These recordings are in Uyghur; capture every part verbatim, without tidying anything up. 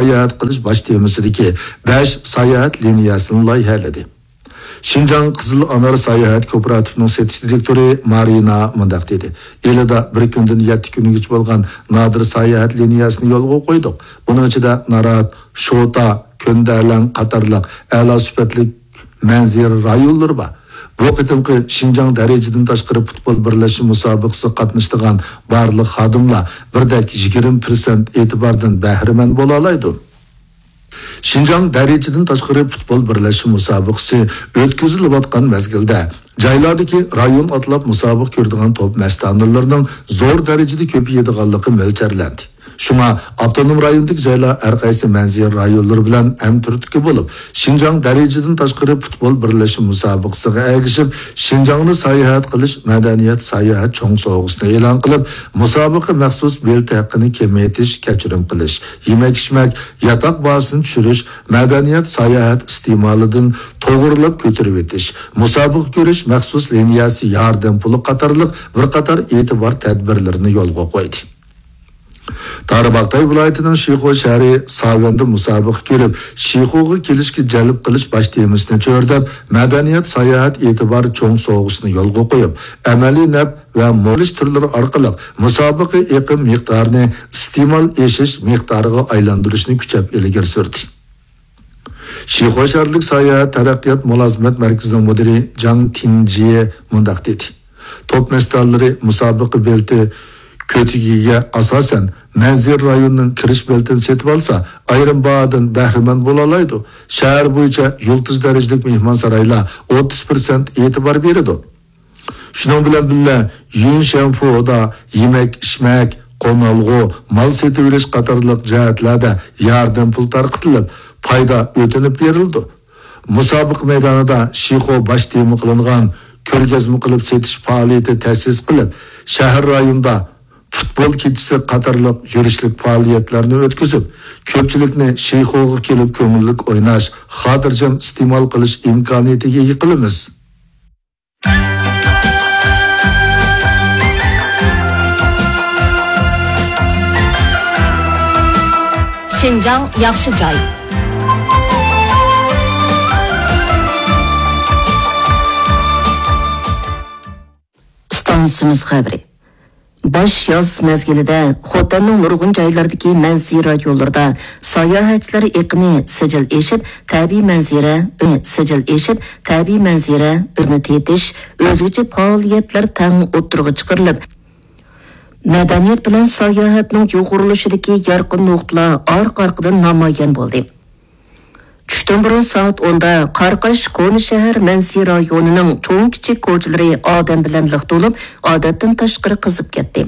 ساياھەت قىلىش باش تېمىسىدىكى بەش ساياھەت لىنىيەسىنى لايىھەلىدى. شىنجاڭ قىزىل ئانار ساياھەت كوپىراتىپىنىڭ سېتىش دىرېكتورى مارىنا مۇنداق دېدى: ئىلىدا بىر كۈندىن يەتتە كۈنگىچە بولغان نادىر ساياھەت لىنىيەسىنى يولغا قويدۇق. ئۇنىڭ ئىچىدە نارات، شوتا، كۆندەلەڭ قاتارلىق ئەلا سۈپەتلىك مەنزىرە رايونلىرى بار. بۇ قېتىمقى شىنجاڭ دەرىجىدىن تاشقىرى پۇتبول بىرلەشمە مۇسابىقىسىگە قاتنىشىدىغان بارلىق خادىملار بىردەك يىگىرمە پىرسەنت ئېتىباردىن بەھرىمەن بولالايدۇ. شىنجاڭ دەرىجىدىن تاشقىرى پۇتبول بىرلەشمە مۇسابىقىسى ئۆتكۈزۈلۈۋاتقان مەزگىلدە، جايلاردىكى رايون ئاتلاپ مۇسابىقە كۆرىدىغان توپ مەستانىلىرىنىڭ زور دەرىجىدە كۆپىيىدىغانلىقى مۆلچەرلەندى. شۇڭا ئاپتونوم رايوندىكى جايلار ھەر قايسى مەنزىرە رايونلىرى بىلەن ھەمتۈرتكە بولۇپ، شىنجاڭ دەرىجىدىن تاشقىرى پۇتبول بىرلەشمە مۇسابىقىسىغا ئەگىشىپ، شىنجاڭنى ساياھەت قىلىش مەدەنىيەت ساياھەت چوڭ سوۋغىسىنى ئېلان قىلىپ، مۇسابىقە مەخسۇس بېلىتى ھەققىنى كېمەيتىش، كەچۈرۈم قىلىش، يېمەك-ئىچمەك، ياتاق باھاسىنى چۈشۈرۈش، مەدەنىيەت ساياھەت ئىستېمالىدىن توغرىلاپ كۆتۈرۈۋېتىش، مۇسابىقە كۆرۈش مەخسۇس لىنىيەسى ياردەم پۇلى قاتارلىق بىر قاتار ئېتىبار تەدبىرلىرىنى يولغا قويدى. تارباغاتاي ۋىلايىتىنىڭ شىخۇ شەھىرى ساۋەندە مۇسابىقە كۆرۈپ، شىخۇغا كېلىشكە جەلپ قىلىش باش تېمىسىنى چۆرىدەپ، مەدەنىيەت ساياھەت ئېتىبار چوڭ سوۋغىسىنى يولغا قويۇپ، ئەمەلىي نەپ ۋە مول ئىش تۈرلىرى ئارقىلىق مۇسابىقە ئېقىم مىقدارىنى ئىستېمال ئېشىش مىقدارىغا ئايلاندۇرۇشنى كۈچەپ ئىلگىرى سۈردى. شىخۇ شەھەرلىك ساياھەت تەرەققىيات مۇلازىمەت مەركىزىنىڭ مۇدىرى جاڭ تىنجيې مۇنداق دېدى: توپ مەستانىلىرى مۇسابىقە بېلىتى كۆتىكىگە ئاساسەن، مەنزىرە رايونىنىڭ كىرىش بېلىتىنى سېتىۋالسا، ئايرىم باھادىن بەھرىمەن بولالايدۇ. شەھەر بويىچە يۇلتۇز دەرىجىلىك مېھمانسارايلار ئوتتۇز پىرسەنت ئېتىبار بېرىدۇ. شۇنىڭ بىلەن بىللە، يۈنشەنفۇدا يېمەك-ئىچمەك، قونالغۇ، مال سېتىۋېلىش قاتارلىق جەھەتلەردە ياردەم پۇل تارقىتىلىپ، پايدا ئۆتۈنۈپ بېرىلىدۇ. مۇسابىقە مەيدانىدا شىخۇ باش تېما قىلىنغان كۆرگەزمە قىلىپ سېتىش پائالىيىتى تەسىس قىلىپ، شەھەر رايونىدا پۇتبول كېچىسى قاتارلىق يۈرۈشلۈك پائالىيەتلەرنى ئۆتكۈزۈپ، كۆپچىلىكنى شىخۇغا كېلىپ كۆڭۈللۈك ئويناش، خاتىرجەم ئىستېمال قىلىش ئىمكانىيىتىگە ئىگە قىلىمىز. شىنجاڭ ياخشى جاي. ئىستانسىمىز خەۋىرى. باش ياز مەزگىلىدە خوتەننىڭ نۇرغۇن جايلىرىدىكى مەنزىرە رايونلىرىدا ساياھەتچىلەر ئېقىمى سىجىل ئېشىپ، تەبىئىي مەنزىرە، سىجىل ئېشىپ، تەبىئىي مەنزىرە ئۆرنى تېتىش، ئۆزگىچە پائالىيەتلەر تەڭ ئوتتۇرىغا چىقىرىلىپ، مەدەنىيەت بىلەن ساياھەتنىڭ يۇغۇرۇلۇشىدىكى يارقىن نۇقتىلار ئارقا-ئارقىدىن نامايان بولدى. چۈشتىن بۇرۇن سائەت ئوندا قاراقاش كونا شەھەر مەنزىرە رايونىنىڭ چوڭ-كىچىك كوچىلىرى ئادەم بىلەن لىق تولۇپ، ئادەتتىن تاشقىرى قىزىپ كەتتى.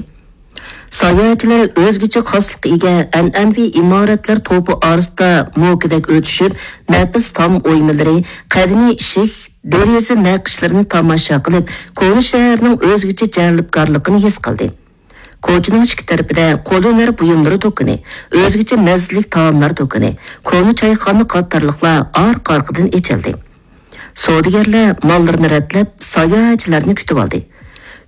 ساياھەتچىلەر ئۆزگىچە خاسلىققا ئىگە ئەنئەنىۋى ئىمارەتلەر توپى ئارىسىدا موكىدەك ئۆتۈشۈپ، نەپىس تام ئويمىلىرى، قەدىمىي ئىشىك، دېرىزە نەقىشلىرىنى تاماشا قىلىپ، كونا شەھەرنىڭ ئۆزگىچە جەلپكارلىقىنى ھېس قىلدى. كوچىنىڭ ئىككى تەرىپىدە قول ھۈنەر بۇيۇملىرى دۇكىنى، ئۆزگىچە مەززىلىك تائاملار دۇكىنى، كونا چايخانا قاتارلىقلار ئارقا-ئارقىدىن ئېچىلدى. سودىگەرلەر ماللىرىنى رەتلەپ، ساياھەتچىلەرنى كۈتۈۋالدى.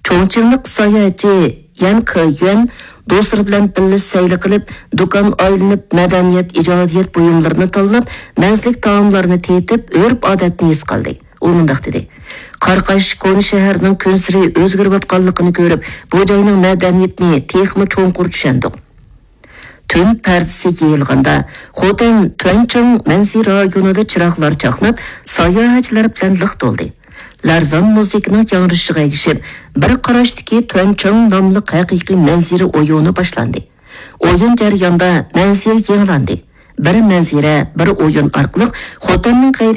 چوڭچىڭلىق ساياھەتچى يەن كېيۈەن دوستلىرى بىلەن بىللە سەيلە قىلىپ، دۇكان ئايلىنىپ، مەدەنىيەت، ئىجادىيەت بۇيۇملىرىنى تاللاپ، مەززىلىك تائاملارنى تېتىپ، ئۆرپ-ئادەتنى ھېس قىلدى. ئۇ مۇنداق دېدى: قاراقاش كونا شەھەرنىڭ كۈنسېرى ئۆزگىرىۋاتقانلىقىنى كۆرۈپ، بۇ جاينىڭ مەدەنىيىتىنى تېخىمۇ چوڭقۇر چۈشەندۇق. تۈن پەردىسى يېيىلغاندا، خوتەن تۈەنچىڭ مەنزىرە رايونىدا چىراغلار چاقناپ، ساياھەتچىلەر بىلەن لىق تولدى. لەرزان مۇزىكىنىڭ ياڭرىشىغا ئەگىشىپ، بىر قاراشتىكى تۈەنچىڭ ناملىق ھەقىقىي مەنزىرە ئويۇنى باشلاندى. ئويۇن جەريانىدا مەنزىرە يېڭىلاندى. بىر مەنزىرە، بىر ئويۇن ئارقىلىق خوتەننىڭ غەيرىي